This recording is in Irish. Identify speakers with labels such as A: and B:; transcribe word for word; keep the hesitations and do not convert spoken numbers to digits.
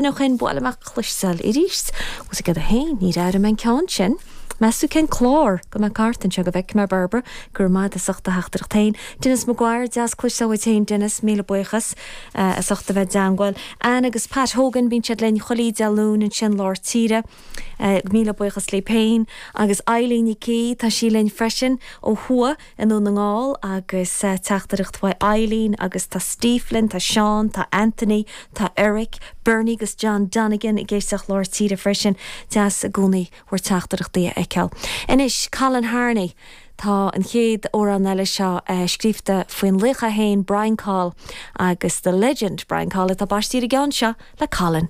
A: ó shin buail amach cloisteáil arís. Was go haon ní air an ceann sin. Measú cén clár go me cartan seo go bheic mar Barbara gur maid a socht a theachtaireacht féin. Dennis Maguire deas cloisteáil féin Dennis míle buíochas as ucht a bheith i dteagmháil. Ann agus Pat Hogan bíonn siad linn chuile Dé Luain ansin lár tíre. Uh, míle buíochas le féin agus Eileen Ní tá sí linn freisin ó thuaidh i nDún na nGall agus uh, teachtaireacht uaidh Eileen agus tá Steve linn, tá Seán, tá Anthony, tá Eric, Bernie agus John Donegan ag éisteacht lár tíre freisin deas i gcónaí bhur dteachtaireachtaí a fheiceáil. Anois Colin Harney Tá an chéad amhrán eile seo uh, scríofa faoin laoch féin Brian Coll agus the legend Brian Coll atá baistí an ceann seo le Colin.